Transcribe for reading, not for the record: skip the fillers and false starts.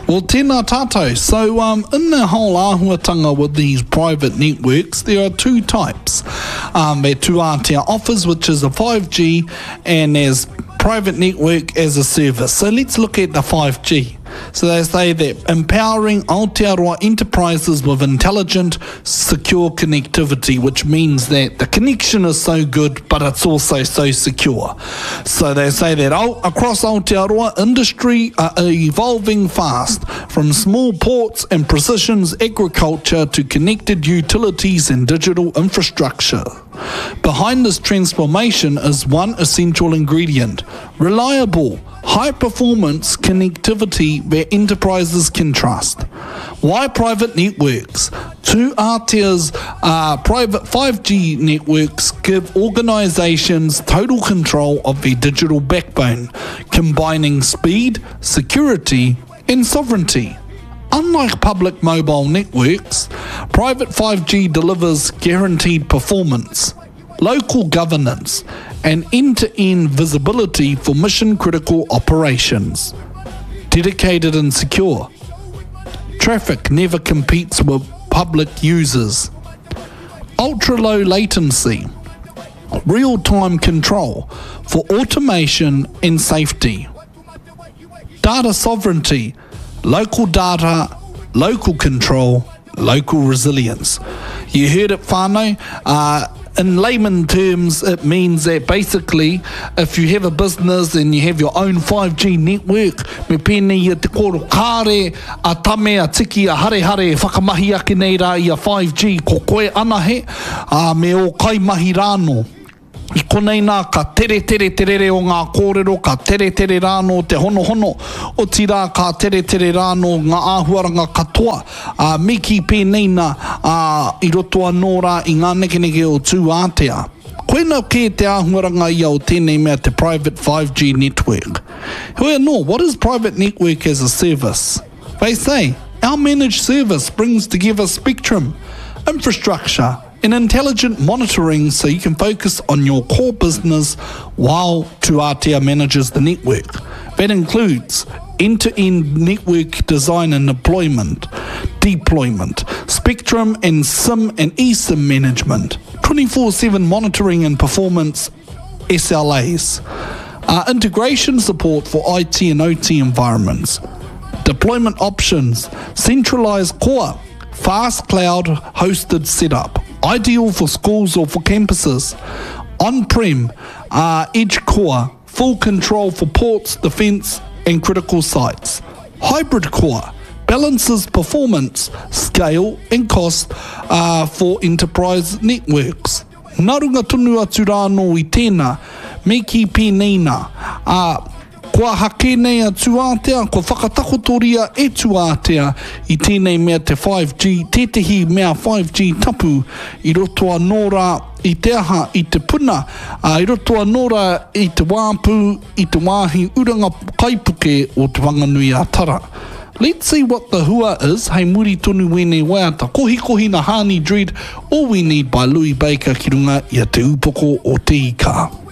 Well, tēnā tātou. So, um, in the whole āhuatanga with these private networks, there are two types. Um, that Tūātea offers, which is a 5G, and there's private network as a service. So let's look at the 5G. So they say that empowering Aotearoa enterprises with intelligent, secure connectivity, which means that the connection is so good, but it's also so secure. So they say that across Aotearoa, industry are evolving fast, from small ports and precision agriculture to connected utilities and digital infrastructure. Behind this transformation is one essential ingredient reliable, high performance connectivity where enterprises can trust. Why private networks? Tūātea's uh, private 5G networks give organizations total control of their digital backbone, combining speed, security, and sovereignty. Unlike public mobile networks, private 5G delivers guaranteed performance, local governance, and end to end visibility for mission critical operations. Dedicated and secure. Traffic never competes with public users. Ultra low latency. Real time control for automation and safety. Data sovereignty, local data, local control, local resilience. You heard it, whānau. Uh, in layman terms, it means that basically, if you have a business and you have your own 5G network, me pēnei ia te kōrero, kāre a Tame, a Tiki, a Harehare e whakamahi ake nei rā i a 5G, ko koe anahe, ā, me ō kaimahi rānō. I konei nā ka teretere te rere o ngā kōrero, ka teretere rānō te honohono, otirā ka teretere rānō ngā āhuaranga katoa, ā, me kī pēnei nā, ā, i roto anō rā i ngā nekeneke o Tūātea. Koina kē te āhuaranga ia o tēnei mea te Private 5G Network. Heoi anō, what is private network as a service? They say, our managed service brings together spectrum, infrastructure, and intelligent monitoring so you can focus on your core business while Tuatea manages the network. That includes end-to-end network design and deployment, deployment, spectrum and SIM and eSIM management, 24/7 monitoring and performance SLAs, uh, integration support for IT and OT environments, deployment options, centralized core, fast cloud hosted setup, ideal for schools or for campuses, on-prem, uh, edge core, full control for ports, defence and critical sites. Hybrid core balances performance, scale and cost uh, for enterprise networks. Nā runga tonu atu rā anō i tēnā, me kī pēnei nā, ā, kua aha kē nei a Tūātea, kua whakatakotoria e Tūātea i tēnei mea te 5G, tētehi mea 5G tapu i roto anō rā i te aha, i te puna, ā, i roto anō rā i te wāpu, i te wāhi uranga kaipuke o Te Whanganui-a-Tara. Let's see what the hua is hei muri tonu wēnei waiata kohikohi na Haani Dread All We Need by Louis Baker ki runga i a Te Upoko o Te Ika.